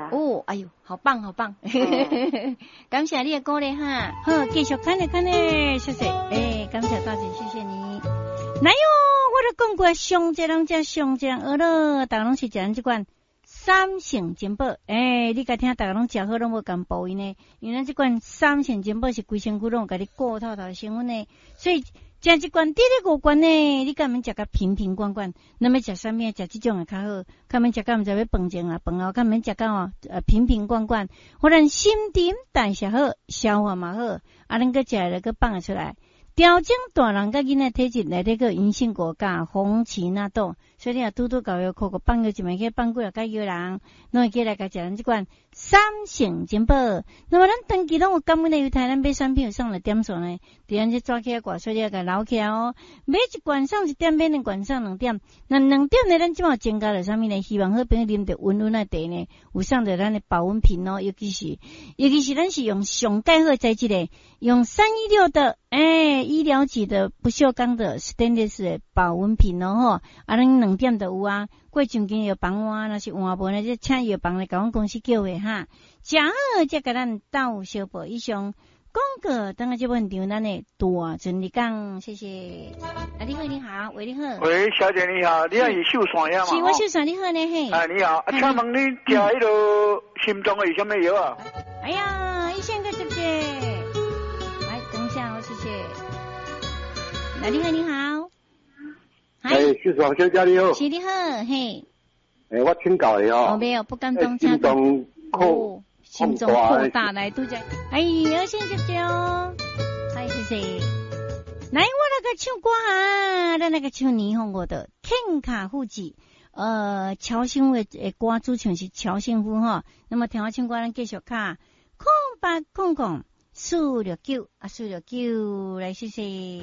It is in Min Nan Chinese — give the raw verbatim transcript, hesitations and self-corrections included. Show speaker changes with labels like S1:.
S1: 啊。
S2: 哦，哎喲，好棒好棒，感謝你的鼓勵哈。
S3: 好，繼續看咧看咧，謝謝，欸，感謝大姐，謝謝你。來喲，我都講過，上濟人食，上濟人學咯，逐家攏是食咱這款三聖珍寶。欸，你共聽，逐家攏食好攏無仝部位呢，因為咱這款三聖珍寶是規身軀攏有共你顧透透的成分呢，所以食一罐，佇咧五罐呢，你敢免食甲瓶瓶罐罐，咱欲食啥物？食這種的較好，較免食到毋知欲飯前啊，飯後較免食到哦，呃瓶瓶罐罐，予咱新陳代謝好，消化嘛好，啊，咱閣食了閣放會出來。調整大人佮囡仔體質，內底閣有銀杏果佮紅芪納豆，所以你若拄拄𠢕藥庫閣放藥一暝去放幾若蓋藥人，攏會記來共食咱這款三聖珍寶。那麼咱長期攏有感恩的猶太，咱買產品有送的點數呢？佇咱這紙起掛，所以你愛共留起來哦。買一罐送一點，買兩罐送兩點。那兩點呢？咱這馬增加了啥物呢？希望好朋友啉著溫溫的茶呢，有送著咱的保溫瓶哦。尤其是，尤其是咱是用上蓋好材質的，用三一六的，欸，醫療級的不鏽鋼的 stainless 的保溫瓶哦吼。啊，咱兩點就有啊。過上間藥房換，若是換無呢，就請藥房來共阮公司叫貨哈。食好才共咱鬥相報。以上廣告，等下這本場咱的大陣日講，謝謝。啊，你好，你好，喂，你好。
S4: 喂，小姐你好，你係秀山呀嘛？
S3: 是，我秀山，你好呢嘿。
S4: 哎，你好，啊，請問你食彼个心臟的是啥物藥啊？
S3: 哎呀，醫生閣接者。來，等一下哦，謝謝。來，你好，你好。
S5: 哎，秀山小姐你好。
S3: 是你好，嘿。
S5: 欸，我請教你哦。
S3: 哦，沒有，不敢當。
S5: 心臟擴
S3: 心臟擴大來拄則。哎，要先接接哦。哎，謝謝。來，我來個唱歌啊，咱來個唱霓虹國的《天卡富士》。呃，喬幸福的歌主唱是喬幸福哈。那麼聽我唱歌，咱繼續敲空八空空四六九啊，四六九，來謝謝。